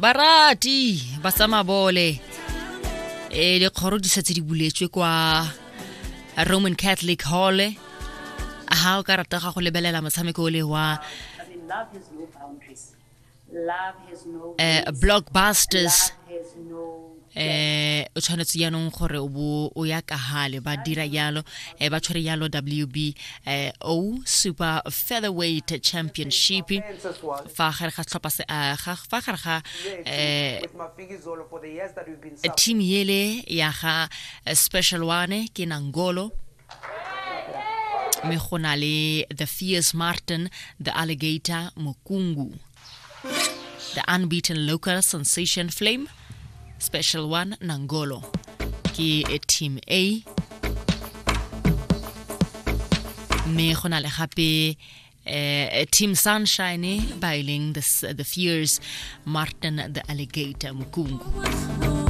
Barati ba tsa mabole, e dikgoro di setse di buletswe kwa Roman Catholic Hall. Ha o ka rata ga go lebelela motshameko o le wa Blockbusters, o tshwanetse jaanong gore o bo o ya kagale. Ba dira jalo, ba tshwere jalo WB o Super Featherweight Championship fa gare ga setlhopha se, fa gare ga team yele ya ga Special One ke Nangolo, mme go na le The Fierce Martin the Alligator Mokungu, the unbeaten local sensation Flame, Special One Nangolo ke team A, mme go na le gape Team Sunshine ba e leng the Fierce Martin the Alligator Mukungu.